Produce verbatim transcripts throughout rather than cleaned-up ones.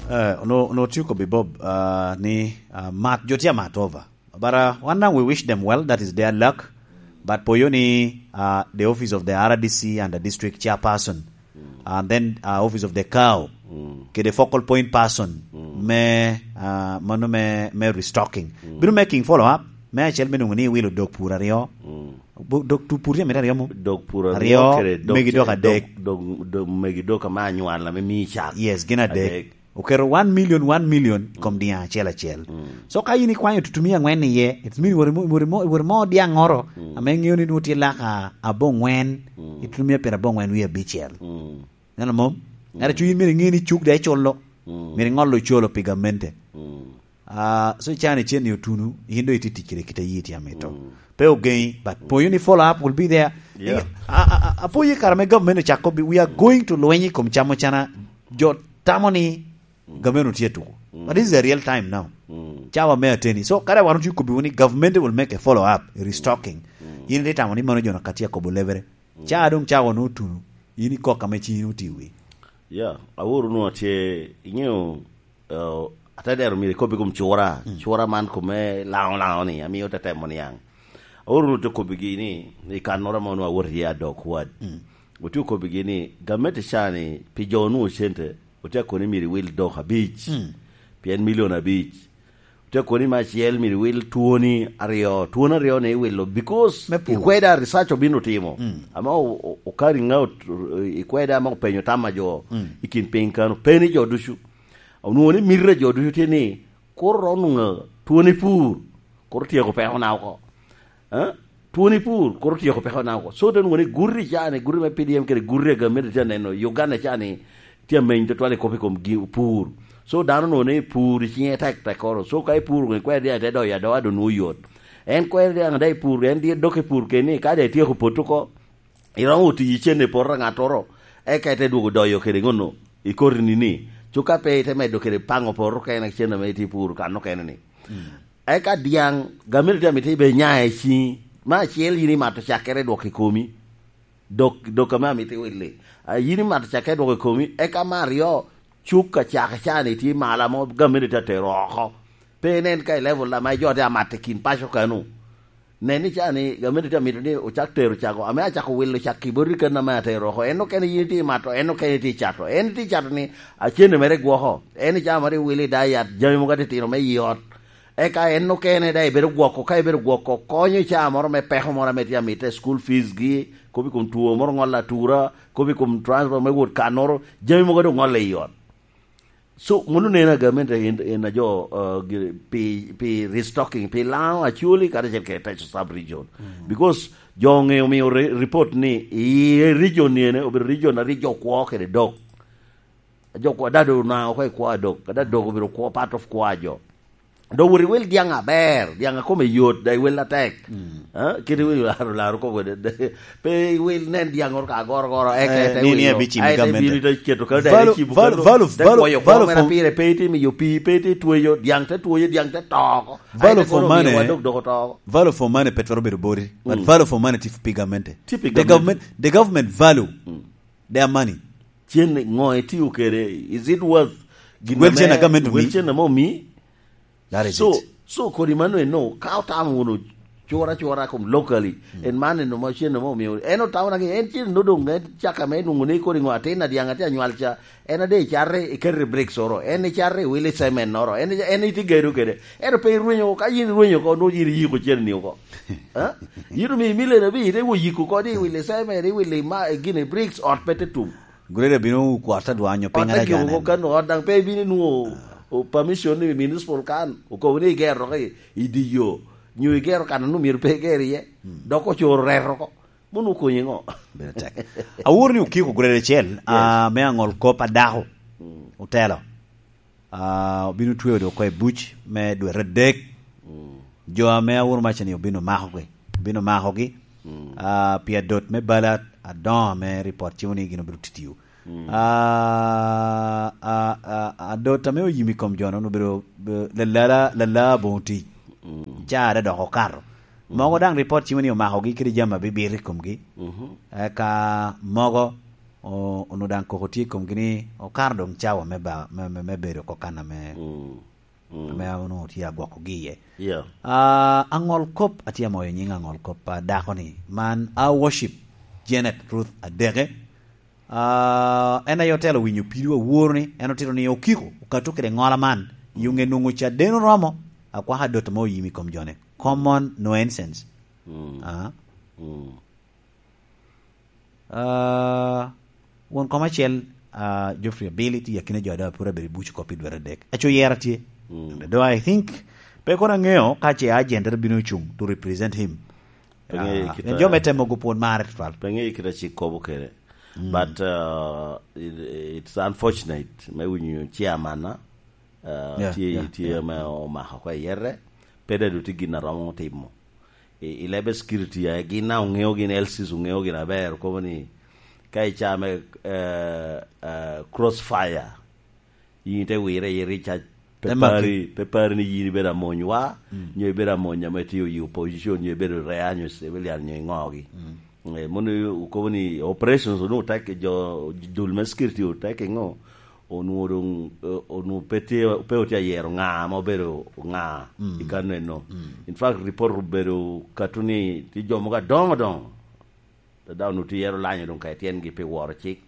Uh, no, no, tye kobbi Bob, uh, ni, uh, mat, jo tye amat over. But, uh, one thing, we wish them well, that is their luck. But poyo ni, uh, the office of the R D C and the district chairperson, and then, uh, office of the cow, kede focal point person, me, uh, mano me, me restocking. Bino making follow up, me acel me nwoŋo ni iwilo dog pur aryo. Bu-, dog tu-, pur tye mito aryo mo? Dog pur aryo Aryo, kede dog megi ce-, dok adek. Dog, dog, dog megi dok ame anywal ame mii cak. Yes, gin adek. Adek. Oketo one million, one million kom dyaŋ acel acel. So ka in ikwanyo tutumia angwen iye, it mean wori mo, wori mo, wori mo dyaŋoro, ame ŋeo ni nwoŋo tye laka aboŋwen, i tutumia pyera aboŋwen wie abicel. Neno mom? Ento cuny myero iŋe ni cuk daŋ iculo. Myero iŋolo ocolo pi gamente. Ah, so icano icen ni otunu, in doŋ itye tic kede kite yi tye amito. Pe ogeŋi, but poyo ni follow up will be there. Yeah. A, a, a, apoyo i kare me government ocako bi, we are going to lweny i kom camo cana. Jo tamo ni government otye tuko. But this is a real time now. Cawa me ateni. So, kare wan otye kobbi ni government will make a follow up, restocking. In itye tamo ni mano jo na ka tye akobo lebere. Ca doŋ cawa no otunu. In ikok ame ci in oti wi. Yeah, aworo nu atye, iŋeo, uh, ate dero myero ikobbi kom cura. Cura man kome laŋo laŋo ni, amio te temo niaŋ. Aworo nu te kobbigi ni, i kannoro ame onwoŋo awot iye adok wad. Otye okobbigi ni, gamente ca ni, pi jo onwoŋo cente, otye akoni myero iwil dok abic. Pien milion abic. Otye akoni me acel myero iwil twoni aryo. Twoni aryo ni iwilo because ikweda research obino timo. Ame o-, o-, o carrying out, ikweda ame openyo tam a jo i kin piny kano. Pe ni jo ducu. Onwoŋo ni mito a jo ducu tye ni, kur onwoŋo twoni pur, kur tyeko peko na oko. Eh? Twoni pur, kur tyeko peko na oko. So, te nwoŋo ni guti ca ni, guti me P D M kede guti a gamente tye aneno, Uganda ca ni, tye ameny tutwal i kop i kom gi-, pur. So, dano nwoŋo ni pur i cinge tek tek oro. So, ka ipuro, nwoŋo ikwero dyaŋ te doyo adoa, doŋ nwoŋo yot. En kwero dyaŋ daŋ i pur, en dye dok i pur keni, ka daŋ ityeko poto oko, iromo oti cen i poto a ŋattoro, eka ite dwogo doyo kede ŋono, i koti nini. Cuka pe ite medo kede paŋo poto kene cen ame itye puro kan okene ni. Eka dyaŋ, gamente tye amito ibe nya i ciŋi. Me acel yin imato cakkere dwok i komi. Dok, dok ame amito iwilli. A, yin imato cakkere dwok i komi, eka me aryo, cuk a cak ca ni tye malo amo gamente tye atero oko. Pe inen ka i level ame jo tye amato i kin paco kanu. Nen ni ca ni gamente tye amito ni ocak tero cako. Ame acako wilo cak i boti kano ame atero oko. En okene yin itye imato, en okene itye icato. En itye icato ni acene mere gwoko. En icamo ri wilo i dayat, jami mogo atitino me i ot. Eka en okene daŋ ibedo gwoko, ka ibedo gwoko, konyo i caa moro me peko moro ame tye amite, school fees gi, kop i kom two moro ŋolo atura, kop i kom transport me wot kannoro, jami mogo doŋ ŋolle i ot. So, mano neno agamente in, in a jo, uh, gi-, pi, pi restocking, pi Laŋo, Acholi, kadi acel kede Teso sub region. Because jo oŋeo omio re-, report ni i region ni ene, obedo region a rik jo kwo kede dok. Jo kwo, dado onaŋo oko i kwo a dok, ka dado dok obedo kwo, part of kwo a jo. Dok wot iwil dyaŋ aber, dyaŋ a kome yot, da iwil atek. Ah, kit iwil laro, laro koko de, de, pe iwil nen dyaŋ oro ka goro goro, eke Eh, te ni, ni wilo. Abicim i Ai, te gamente. Bino te keto ka, da Value, icibo value, kano, value, te value, kwoyo kwo value mere for, pire, pe ite miyo pi, pe ite tweyo, dyaŋ te tweyo, dyaŋ te to oko. Ai, value te for kono omiyo money, wadok dok oto oko. Value for money pe twero bedo boti, but value for money tye pi gamente. Tye pi gamente. The government, the government value their money. Cen ŋo itio kede? Is it worth gin Wel cen ame, a gamente wel omi? Cen ame omi? That is So, it. So kodi mano eno, ka otamo wunu cura cura kom locally, en man eno ma cen ame omio, en otamo naki, en cen no dong, en caka me nwoŋo ni kodi ŋo atin a dyaŋ atye anywal ca, en ade icate iketo i bricks oro, en icate iwilo i cement oro, en, en itye gedo kede, ento pe irwenyo, ka yin irwenyo oko, nwoŋo yin iyiko cen ni oko. Ha? Yin omi milion abic, ite wo yiko oko, di iwilo i cement, iwilo i ma-, gin i bricks, ot pe te tum. Grade bino kwat adwanyo piny. Ot ara ajuko gane. Kan ot daŋ pe ibino inwoŋo o permission ni municipal kan okobo ni igero dok i, i dye yo, nyo igero kan a nwoŋo myero pe iger iye, dok ocoro reto oko. Mono okonyi ŋo? Bedo tek. Aworo ni okiko grade acel, ah, me aŋol kop a dako. Otelo. Ah, obino tweyo dok oko i buc me dwete adek. Jo ame aworo maca ni obino makogi. Obino makogi. Ah, pi adot me bala adoŋo ame ripot cimo ni gin obino titio. Ah, ah, ah, adot ame oyim i kom jo-nu obedo, be-, lalala, lala aboŋo tic. Care dok okato. Mogo daŋ ripot cimo ni omakogi kede jami abibito i komgi. Eka mogo o-, onwoŋo daŋ koko tye i komgi ni okato doŋ cawa me ba-, me, me, me bedo oko kan ame, mm, mm, ame onwoŋo tye agwokogi iye. Yeah. Ah, aŋol kop atye amoyo nying aŋol kop a dako ni, man a worship Janet Ruth Adeke. Ah, en aye otelo winyo pido awor ni, en otito ni okiko okato kede ŋola man, i onge nwoŋo caden oromo, akwaka dot ame oyim i kom jone. Common nuisance. Mm. Ah. Mm. Ah, won kom acel, ah, Geoffrey Abili tye akina jo adawa pwod abedo i buc oko pi dwe adek. Aco yera tye. Mm. Though I think, pe kono aŋeo ka ce agent bino cuŋ to represent him. Pe ŋeyo, ah, kit pien jo a-, me temo go pwod marre tutwal. Pe ŋeyo kit a cik kobo kede. Mm. But, uh, it, it's unfortunate me winyo chairman, uh, yeah, tye, yeah, tye, yeah, ame omako oko i yere, pe dadu tye gin a romo timo. I, i lebe security, eh, gin a oŋeo gin, L Cs oŋeo gin aber, okobo ni ka i caa me, eh, eh, crossfire, yin ite wire i recharge, pe, te maki, pari, pe pari ni yin ibedo amonywa, mm, nyo ibedo amony ame tye i opposition, nyo ibedo rea, nyo civilian, nyo iŋogi. Mm. Eh, mono okobo ni operations onwoŋo tek, jo dul me security otek i ŋo, onwoŋo doŋ, eh, onwoŋo pe tye, pe otye ayero ŋa ame obedo ŋa, mm, i kano eno. Mm. In fact, report obedo kato ni tye jo mogo adoŋo adoŋo. Dada onwoŋo tye yero lanyo doŋ ka i tyengi pi woro cik.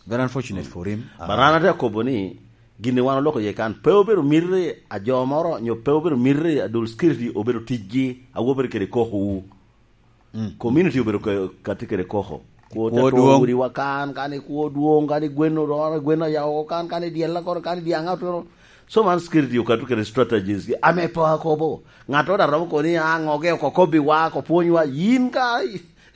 Very unfortunate, mm, for him. But, ah, an atye akobo ni, gin wan oloko iye kan, pe obedo miti a jo moro, nyo pe obedo miti a dul security obedo ticgi, a wobere kede koko wu. Mm. Community obedo ka-, kati kede koko. Kwo, kwo te two dwoŋ. Odiwa kan, kan i kwo dwoŋ, kan i gwen orono, gwen oyao kan, kan i dyella kono, kan i dyaŋa otuno. So man security okato kede strategies gi. Ame pe akobo. Ŋat oro a romo koni, "Ah, ŋoge oko kobbiwa, oko pwonywa." Yin ka,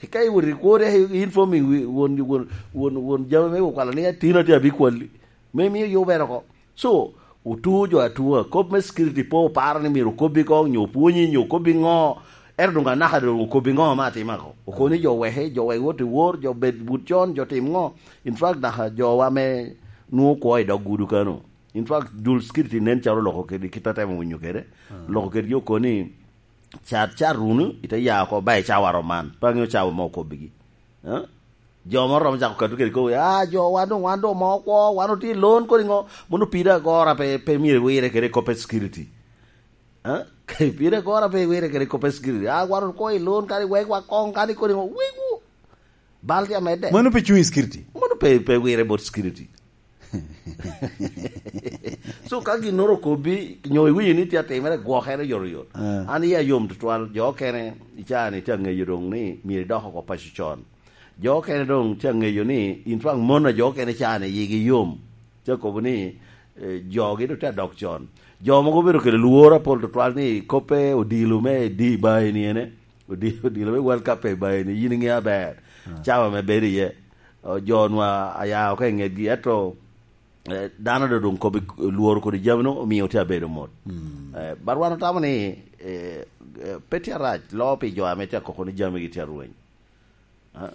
ka iwot i kwo, de informing wi-, won, won, won, won jami me okwalo ni, "Atino tye abikwalli." Me mio yubere oko. So, otu jo atua, kop me security pe oparo ni myero okobbi koŋ, nyo opwonyi, nyo okobbi ŋo, ento doŋ anaka doŋ okobbi ŋo ame atima ko. Okoni jo weke, jo wek wot i wor, jo bed but con, jo tim ŋo. In fact, naka jowa me nwoŋo kwo i dog gudu kano. In fact, dul security nen calo oloko kede kit atemo winyo kede. Ah. Oloko kedgi okoni, "Cat, cat wunu, ite ya oko, ba i cawa rom man." Pe aŋeo cawa ma okobbigi. Eh? Jo moro romo cako katu kede kobo, "Ah, jo, wan doŋ, wan doŋ omo kwo, wan otye i lon kodi ŋo?" Mono pire agora pe, pe myero iwire kede kop a security. Eh? Pire agora pe iwire kede kop a security. "Ah, wan okwo i lon, kadi wek wa koŋ, kadi kodi ŋo, wek wu. Bal tye amedde." Mano pe cuŋ i security? Mono pe, pe wire bot security. So, ka ginnoro okobbi, nyo iwinyo ni tye atimere, gwokere yotoyot. Ah. An iya yom tutwal, jo okene, i caa ni tye aŋeyo doŋ ni myero idok oko paco con. Jo okene doŋ tye aŋeyo ni, in fact, mon a jo okene caa ni yigi yom. Tye akobo ni, eh, jogi doŋ tye adok con. Jo mogo obedo kede lworo apol tutwal ni koppe odilo me di ba eni ene. Odi-, odilo me World Cup pe ba eni, yin iŋeo aber. Ah. Cawa me bedo iye. O, jo nwa aya oko i ŋetgi, ento, eh, dano doŋ, doŋ kobbi lworo kodi jami no, omio tye abedo mot. Mm. Eh, but wan otamo ni, eh, eh, pe tye arac, loo pi jo ame tye akoko ni jamigi tye arweny. Ah.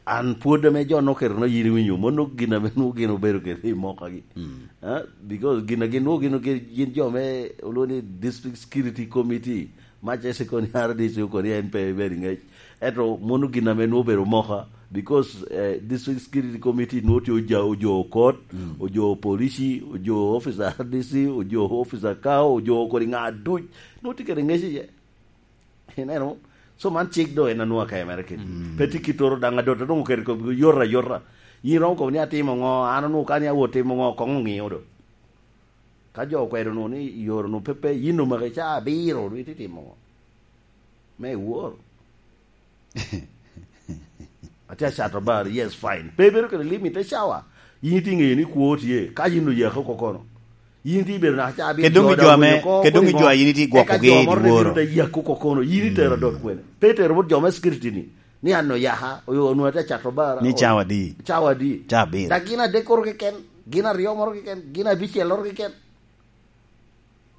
An pwod ame jo noketona yin iwinyo, mono gin ame nwoŋo gin obedo kede i mokagi. Mm. Ah, because gin a gin nwoŋo gin, gin, gin jo me olwoŋo ni District Security Committee, ma ce se koni R D C koni en pe ibedo i ŋec. Ento mono gin ame nwoŋo obedo moka, because, eh, District Security Committee nwoŋo tye oja-, ojo okot, mm, ojo polisi, ojo officer R D C, ojo officer kao, ojo kodi ŋa duc, nwoŋo tye kede ŋec iye. Ineno? So man cik do en anwoŋo akemere kedi. Mm. Pe tye kittoro daŋ adot, adongo kede kop yot ayota. Yin romo kobo ni atimo ŋo, an onwoŋo ka ni awot timo ŋo, koŋ oŋio do. Ka jo okwedo nu ni yoro nu pepe, yin omaki ca abiro, du iti timo ŋo? Me iwor. Atye acato bar, yes, fine. Pe ibedo kede limit te cawa. Yin itye ŋeyo ni kwo tye, ka yin oyaki oko kono. Yin itye ibedo naka ca abiro. Kede doŋ jo ame, kede doŋ jo a yin itye gwoko gi i dworo. Eka jo moro te bino te yaki oko kono. Yin itero adot kwene. Pe itero bot jo me security ni. Ni an oyaka, oyo onwoŋo atye acato bar. Ni o-, cawa adi? Cawa adi? Ca abiro. Dak gin adek koro keken, gin aryo moro keken, gin abicel moro keken.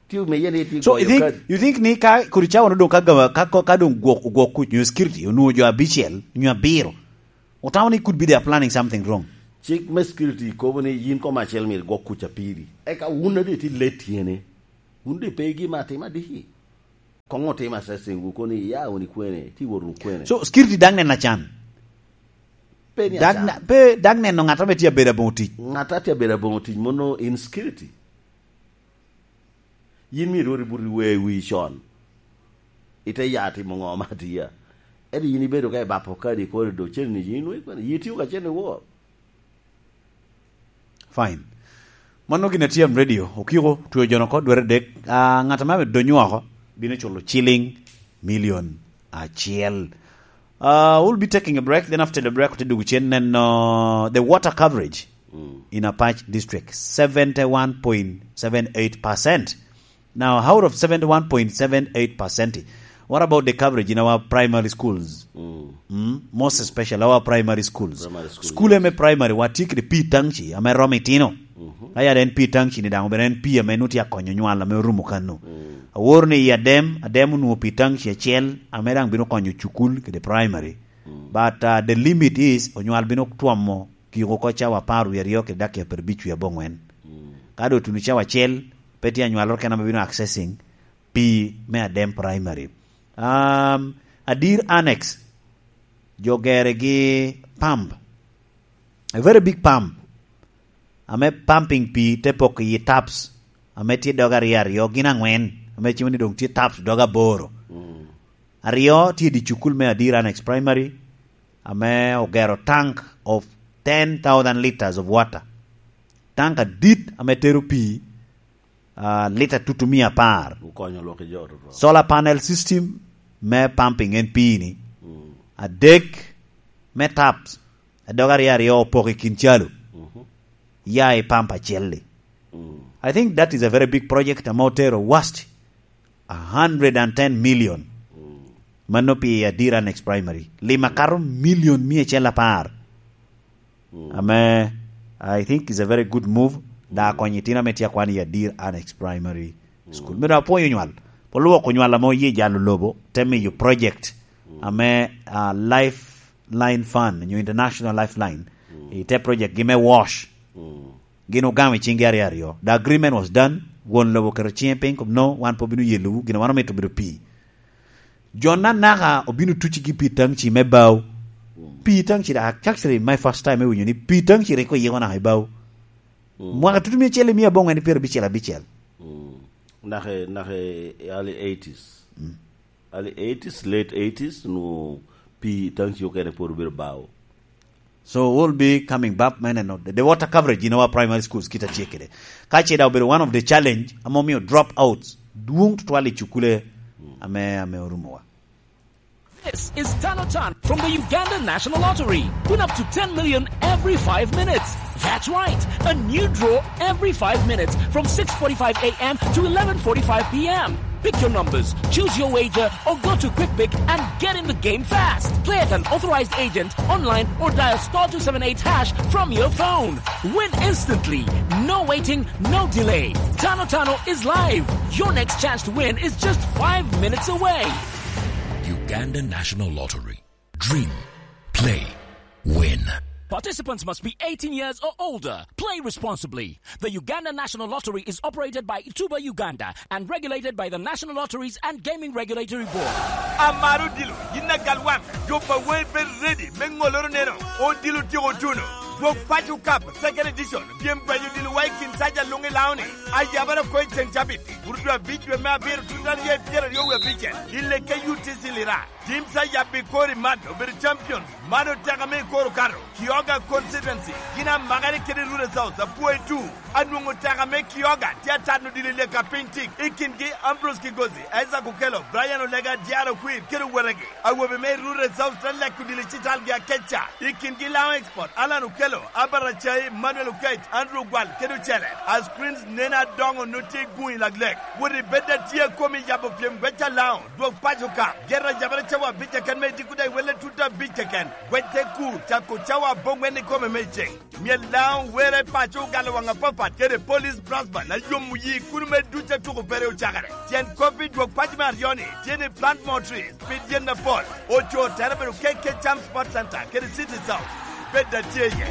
Tye omeye ni tye. So, you think, you think ni ka kodi cawa no doŋ ka gava-, ka, ka, ka doŋ gwok, gwok kuc, nyo security, onwoŋo jo abicel, nyo abiro. Otamo ni could be they are planning something wrong. Cik me security kobo ni yin kom acel myero gwok kuc apiri. Eka wun adi tye let tyene. Wun di pe gima atima diki. Koŋ otim assessing wu kono iya wun i kwene, ti wot wunu kwene. So, security daŋ nena can. Pe ni Dak aca. na-, pe dak neno ŋat ame tye abedo aboŋo tic. Ŋat a tye abedo aboŋo tic, mono insecurity. Yin myero irwot ibut iwe wi con. Ite ya timo ŋo ma atiya. Ento yin ibedo ka ibapo kadi i korido, cen ni yin nwoŋo ikwano. Yi tio ka cen iwor. Fine. Mano gin a T M Radio. Okiko, tweo jono oko dwere dek. Ah, ŋat ame donyo oko bino culo ciling milion acel. Uh, we'll be taking a break. Then after the break, we'll take a neno the water coverage Mm. in Apac District, seventy-one point seven eight percent. Now, out of seventy-one point seven eight percent, what about the coverage in our primary schools? Mm. Mm? Most especially our primary schools. Primary school, School yes. eme primary, wa tye kede pii taŋci ame romo itino. Mhm. Ka yat en pii taŋci ni daŋ, obedo en pii ame nwoŋo tye akonyo nywal ame orumo kano. Mm. Aworo ni i Adem, Adem onwoŋo pii taŋci acel ame daŋ bino konyo cukul kede primary. Mm. But, uh, the limit is, onywal bino twomo kiko oko cawa apar wie aryo kede dakika pyerabic wie aboŋwen. Mm. Ka doŋ otuno cawa acel, pe tye anywaloro kene ame bino accessing pii me Adem Primary. Um, Adir Annex, jo gere gi pump, a very big pump, ame pumping pii te poko i taps, ame tye dog aryo aryo, gin aŋwen, ame cimo ni doŋ tye taps dog aboro. Mm. Aryo tye i dye cukul me Adir Annex Primary, ame ogero tank of ten thousand liters of water. Tank adit ame tero pii, ah, lita tutumia apar. Okonyo lwak i jo tutwal. Solar panel system me pumping en pii ni. Mm. Adek me taps, adog aryo aryo opoko i kin calo. Mhm. Ya i pump acel-li. Mm. I think that is a very big project ame otero worth a hundred and ten million. Mm. Mano pi Adir Annex Primary. Lim akato milion mia acel apar. Mm. Ame, I think is a very good move. Da Mm. konyo itino ame tye akwan i Adir Annex Primary School. Mm. Myero apwony onywal. Pol lwoko onywal ame oye jalo lobo, te miyo project Mm. ame, ah, Lifeline Fund, nyo International Lifeline, Mm. i te project gi me wash. Mm. Gin ogamo i ciŋgi aryo aryo. The agreement was done. Won lobo oketo ciŋe piny, kom, "No, wan pe obino yelowu, gin wan omito obedo pii." Jo anaka obino tucigi pii taŋci me bao. Mm. Pii taŋci, actually, my first time me winyo ni pii taŋci rik oyiko naka i bao. Mm. Mwaka tutumia acel i mia aboŋwen pyerabicel abicel. Mm. Naka, naka i early eighties. Mm. Early eighties, late eighties, nwo pii taŋci okene pwod obedo bao. So we'll be coming back, man, and the, the water coverage in our primary schools, kit a tye kede. Ka ce da obedo one of the challenge, ame omiyo drop outs dwong tutwal i cukule ame, ame orumowa. This is Tano Tan from the Uganda National Lottery. Win up to ten million every five minutes. That's right, a new draw every five minutes from six forty-five a m to eleven forty-five p m. Pick your numbers, choose your wager, or go to Quick Pick and get in the game fast. Play at an authorized agent, online, or dial star two seven eight hash from your phone. Win instantly. No waiting, no delay. Tano Tano is live. Your next chance to win is just five minutes away. Uganda National Lottery. Dream, play, win. Participants must be eighteen years or older. Play responsibly. The Uganda National Lottery is operated by Tuba Uganda and regulated by the National Lotteries and Gaming Regulatory Board. Amaro odilo, yin agal waŋ, jo pa Wei bed ready me ŋoloro neno, odilo tyeko tuno. Dwog Paco Cup, second edition, pyem gwenyo odilo wa i kin saja luŋ i Laoni. Ayabara ko i ceŋ cabit, Burdu abic dwe me abiro, tuta rye pyeraryo wie abicel, i Leke U T C Lira. Tim sa yabbi kori man obedo champions. Man oteka me koro kato. Kioga constituency, gin amakere kede Rural South, apwoyo tu. Anwoŋo teka me Kioga tye atano dilo i leka piny tik. I kingi Ambrose Kigozi, Isaac Okello, Brian Olega, Diaro Kwir, kede wetegi. Awobe me Rural South te leko dilo i citalgi akeca. I kingi Laŋo Export, Alan Okello, Albert Acai, Manuel Okech, Andrew Gwal, kede ocele. As Queens nene adoŋo no tye guŋ i laglek. Wot i bed atye a komi yabo pyem gweca Laŋo. Dwog paco ka, ger ayabere cawa abic keken me diko daŋ iwelle tuta abic keken. Gwec te kur, cako cawa aboŋwen ikome me iceng. Myel Laŋo were paco ogalo waŋ apapat kede Police Brass Band a yomo yi kuno me duc a tuko pere ocakere. Tyen kop i dwog paco me aryo-ni tye ni plant more trees, pid yen apol. Oco tere bedo K K Cham Sports Center kede City South. Bed atye iye.